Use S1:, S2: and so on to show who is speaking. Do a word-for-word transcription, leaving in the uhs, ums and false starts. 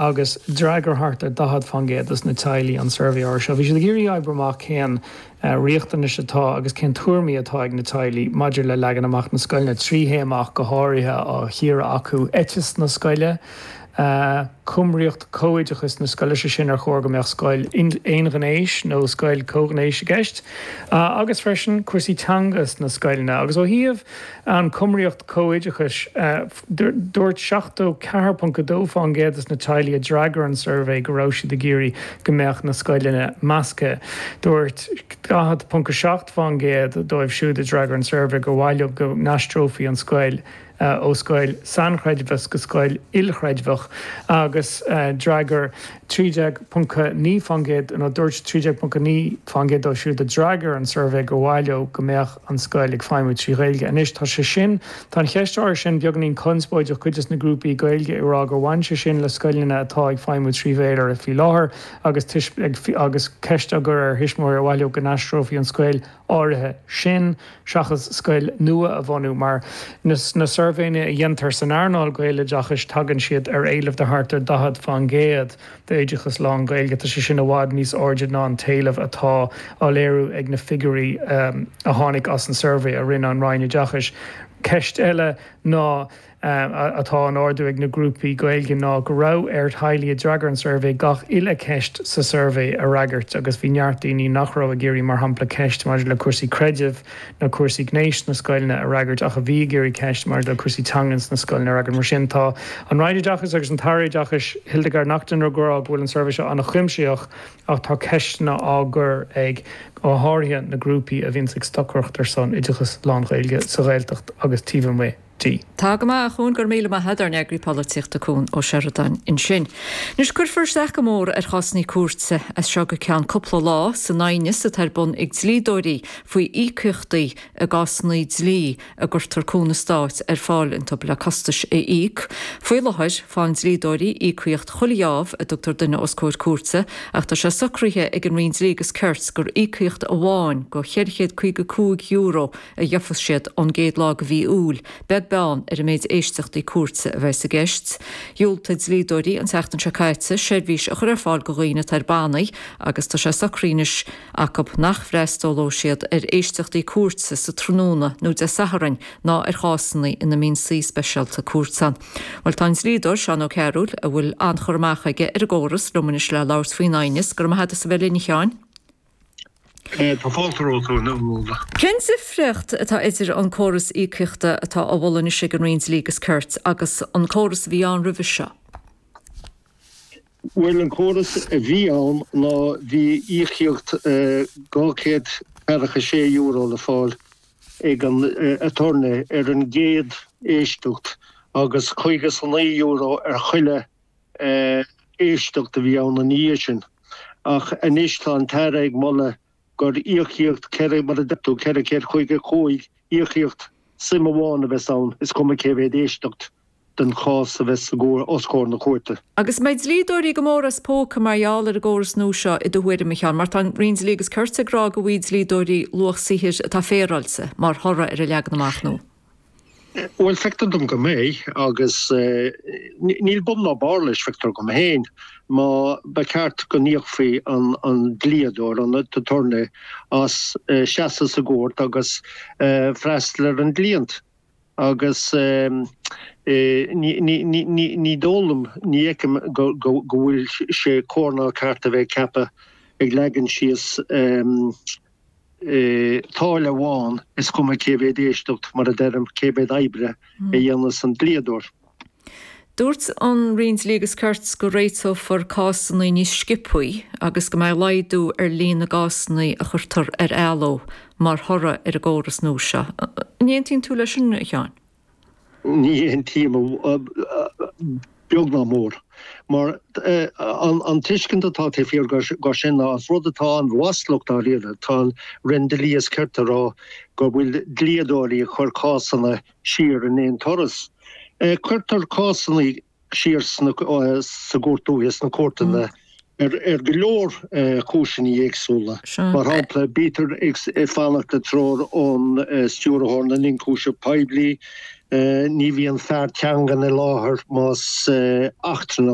S1: Agus d'fhreagair thart ar daichead faoin gcéad dos na teaghlaigh an suirbhé seo. Bhí siad ag iarraidh oibriú amach cén riachtanais atá agus cén tuairimí atá ag na teaghlaigh maidir le leagan amach na scoileanna trí théama go háirithe á chíoradh acu éiteas na scoile, cumraíocht comhoideachais na scoile sé sin ar chóir go mbeadh scoil aonghnéis nó scoil comhghnéis i gceist, agus freisin cúrsaí teanga sna scoileanna. Agus ó thaobh an cumraíocht comhoideachais, dúirt seachtó ceathair ponc a dó faoin gcéad de na teaghlaigh a d'fhreagair an suirbhé go raibh siad ag iarraidh go mbeadh na scoileanna measctha. Dúirt daichead ponc a seacht faoin gcéad dóibh siúd a d'fhreagair an suirbhé gur mhaith leo go n-aistreofaí an scoil ó scoil sainchreidmheach go scoil ilchreidmheach agus d'fhreagair trí déag ponc naoi faoin gcéad nó dúirt trí déag ponc naoi faoin gcéad dóibh siúd a d'fhreagair an suirbhé gur mhaith leo go mbeadh an scoil ag feidhmiú trí Ghaeilge. Anois tá sé sin, tá an cheist áirithe sin beagáinín conspóideach, cuid de na grúpaí Gaeilge ag rá gur bhain sé sin le scoileanna atá ag feidhmiú trí Bhéarla faoi láthair agus agus ceist á gcur ar thuismitheoirí ar mhaith leo go n-aistreofaí an scoil áirithe sin seachas scoil nua a bhunú mar na suirbhéanna a dhéantar san earnáil Gaeloideachais tagann siad ar éileamh de thart ar daichead faoin gcéad d'oideachas lán-Ghaeilge. Tá sé sin i bhfad níos airde ná an t-éileamh atá á léiriú ag na figiúirí a tháinig as an suirbhé a rinne an Roinn Oideachais. Ceist eile ná atá á ardú ag na grúpaí Gaeilge ná go raibh ar theaghlaigh a d'fhreagair an suirbhé gach uile cheist sa suirbhé a fhreagairt agus bhí neart daoine nach raibh ag iarraidh mar shampla ceist maidir le cúrsaí creidimh nó cúrsaí gnéis sna scoileanna a fhreagairt ach a bhí ag iarraidh ceist maidir le cúrsaí teangan sna scoileanna a fhreagairt. Mar sin tá an Roinn Oideachais agus an tAire Oideachais Hildegarde Naughton ag rá go bhfuil an suirbhé seo an-chuimsitheach ach tá ceisteanna á gcur ag go háirithe na grúpaí a bhíonns ag stocaireacht ar son oideachas lán-Ghaeilge sa Ghaeltacht agus taobh amuigh di.
S2: Tá go maith a Chuain go raibh míle maith agat ár n-eagraí polaitíochta Cuan Ó Seireadáin ansin. Anois cuirfear isteach go mór ar chásanna cúirte as seo go ceann cúpla lá san aighneas atá ar bun ag dlíodóirí faoi íocaíochtaí i gcásanna dlí a gcuirtear cúnamh stáit ar fáil iontu le costais a íoc. Faoi láthair faigheann dlíodóirí íocaíocht chuile gheábh a dtugtar duine os comhair cúirte ach tá sé socraithe ag an Roinn Dlí agus Cirt gur íocaíocht amháin de cheithre chéad caoga cúig euro a gheofas siad ón gcéad lá de mhí Iúil, beag beann ar an méid éisteachtaí cúirte a bheas i gceist. Dhiúltaigh dlíodóirí an tseachtain seo caite seirbhís a chur ar fáil do dhaoine atá ar bannaí agus tá sé socraithe anois acu nach bhfreastalóidh siad ar éisteachtaí cúirte sa tráthnóna nó Dé Sathairn ná ar chásanna ina mbíonn suí speisialta cúirte ann. Bhuel tá an dlíodóir Seán Ó Cearúil, a bhfuil an-chur amach aige ar an gcóras, liom anois le labhairt faoin aighneas. Go raibh maith agat as a bheith linn a Sheáin.
S3: Tá fáilte romhat a Nuala.
S2: Cén difríocht atá idir an córas íocaíochta atá á mholadh anois ag an Roinn Dlí agus Cirt agus an córas a bhí ann roimhe seo?
S3: Bhuel, an córas a bhí ann ná bhí íocaíocht dhá chéad ceathracha sé euro le fáil ag an aturnae ar an gcéad éisteacht agus caoga is a naoi euro ar chuile éisteacht a bhí ann ina dhiaidh sin. Ach anois tá an tAire ag moladh gur íocaíocht ceithre, mar a deir tú, ceithre chéad caoga cúig, íocaíocht suim amháin a bheas ann, is cuma cé mhéad éisteacht den chás a bheas os comhair na cúirte.
S2: Agus an mbeidh dlíodóirí go mór as póca mar gheall ar an gcóras nua seo i do thuairim, a Sheáin, mar tá an Roinn Dlí agus Cirt ag rá go bhfaighidh dlíodóirí luach saothair atá féaráilte mar thoradh ar an leagan amach nua.
S3: Bhuel, feictear dom go mbeidh, agus níl bun ná barr leis, feictear dom féin. Má ba cheart go n-íocfaí an dlíodóir, an t-aturnae, as seasamh sa gcúirt agus freastal ar an gcliant. Agus ní dóigh liom, ní fheicim go bhfuil sé cóir ná ceart a bheith ag ceapadh ag leagan síos táille amháin, is cuma cé mhéad éisteacht, mar a deirim, cé mhéad oibre a dhéanas an dlíodóir.
S2: Dúirt an Roinn Dlí agus Cirt go réiteofar cásanna níos sciobthaí agus go mbeidh laghdú ar líon na gcásanna a chuirtear ar athló mar thoradh ar an gcóras nua seo. An aontaíonn tú leis sin, a Sheáin?
S3: Ní aontaím beag ná mór, mar an tuiscint atá taobh thiar de sin ná is rud atá an-mhaslach dáiríre. Tá an Roinn Dlí is Cirt ag rá go bhfuil dlíodóirí ag cur cásanna siar in aon turas. Cuirtear cásanna siar sa gCúirt Dúiche, sna cúirteanna, ar go leor cúiseanna éagsúla. Mar shampla, bítear ag fanacht le treoir ón Stiúrthóir na nIonchúiseamh Poiblí, ní bhíonn fear teangan i láthair más eachtrannach.